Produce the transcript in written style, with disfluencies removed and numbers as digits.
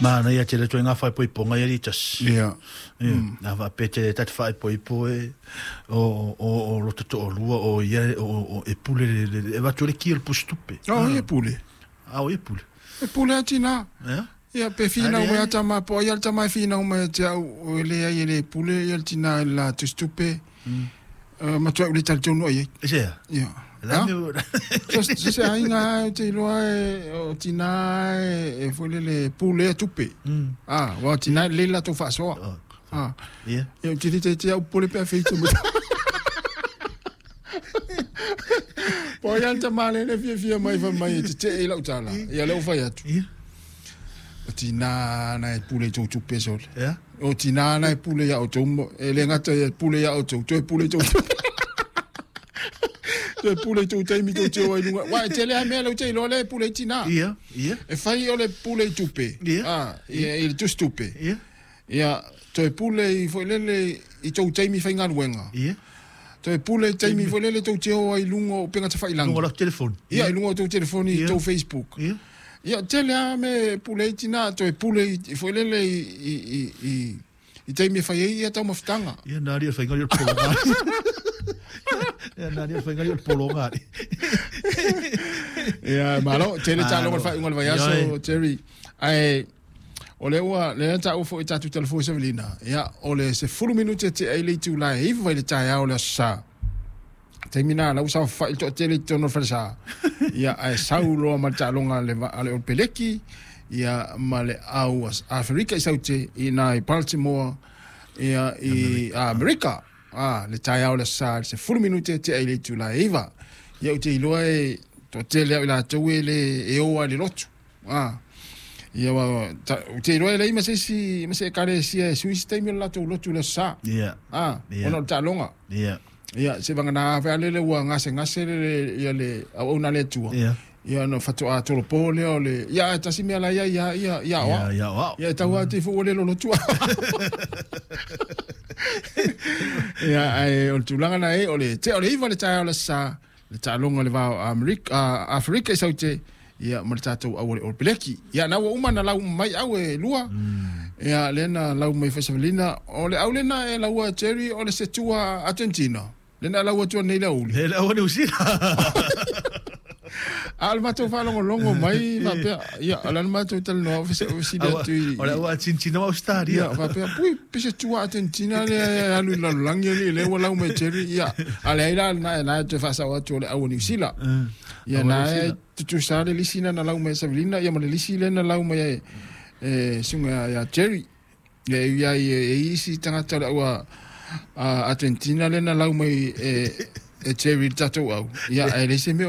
Manaia tele ituaiga faaipoipoga ia litasi. Ia. Ia, a faapea e ta te faaipoipo e o lota toalua o ia o e pule le e avatu ai le ki o le pusitupe. O ai e pule? A o ai e pule? E pule lava tina. Ia. Ia, pe finau mai a tama, po o ai lava le tama e finau mai ia te au, e leai e le pule ia le tina i le la tusitupe. Matuai ou le talitonu i ai. E se a? Ia. La mea So se aiga lava ou te iloa e, o tina e, e foi lele pulea tupe. Ah, aua o tina e lelei le latou faasoa. Ah. Ia. Ia, ou te le taitai au popole pe a feita mai. Po o ai lava le tama lea e fiafia mai fai mai e tetee i lau tala. Ia lea ua fai atu. Ia. O tina na e pule i tou tupe sole. Ia. O tina na e pule ia outou, e le gata ia pule ia outou, toe pule i tou tupe. Toe pule i tou taimi tou te o ai luga. Wa e tele a mea lea ou te iloa lea e pule ai tina. Ia, ia. E fai o le pule i tupe. Ia. Ah, ia, i le tusitupe. Ia. Ia, toe pule i foi lele i tou taimi faigaluega. Ia. Toe pule i taimi foi lele tou te o ai i luga o upega tafailagi. Luga o lau telefoni. Ia, i luga o tou telefoni, i tou Facebook. Ia. Ia, tele lava mea e pule ai tina, toe pule i foi lele i taimi e fai ai ia taumafataga. Ia, na alii o le faiga alii o le pologa. Ia, na alii o le faiga alii o le pologa alii. Ia, malo, tele taaloga i le faaiuga o le vaiaso, Terry. Ae, O lea ua, lea na taua foi e tatou talafua i Savelina, ia, o le 10 minute e tea ai le itula e 9 i le taeao o le Aso Sa. Taimi na, la ua saofafai le toatele i totonu o le falesa. Ia, ae sau loa ma le taaloga a le, a le Olopeleki, ia, ma le au Aferika i Saute, i ina i Baltimore, ia, i Amerika. A, le taeao o le Aso Sa, le 10 minute e tea ai le itula e 9. Ia, ou te iloa e toatele au i latou e le, e o lava i le lotu. A, ia ua, ta, ou te iloa e leai ma se isi, ma se ekalesia e sui se taimi o le latou lotu i le aso Sa. Ia. A, Ia. ona o le taaloga. Ia. Ia, se vagana fe ale le ua gasegase le, le, ia le auauna a le Atua. Ia. Ia, ona faatoa tolopo lea o le, ia, ae tasi mea la ia ia, ia, ia aoao. Ia, ia aoao. Ia, e tau atu ifo ua le lolotu. Ia, ae o le tulaga na e, o le tea o le 9 le taeao o le aso Sa, le taaloga o le va o Amerika, Aferika i Saute, ia, ma le tatou au o le Olopeleki. Ia, na ua uma na lau uma mai au e lua. Ia, lea na lau mai foi Savelina. O le au lena e laua Jerry o le setua Argentina. Lena e lau atu nei le aoauli. Le au a Niu Sila. A o le matou faalogologo mai faapea, ia, o le a le matou talanoa, fesili atu i... O le au Argentina ma Australia. Ia, faapea, pui, pe se tua Argentina lea e alu i le lalolagi alii, lea ua lau mai Jerry, ia, a leai la, lena, lena e toe faasao atu o le au a Niu Sila. Ia, na e tutusa le lisi lea na lau mai e Savelina, ia ma le lisi lea na lau mai e, e susuga ia Jerry. Ia, e ui lava i e i isi tagata o le au a, a Argentina lea na lau mai e, e Jerry i le tatou au, ia, ae leai se mea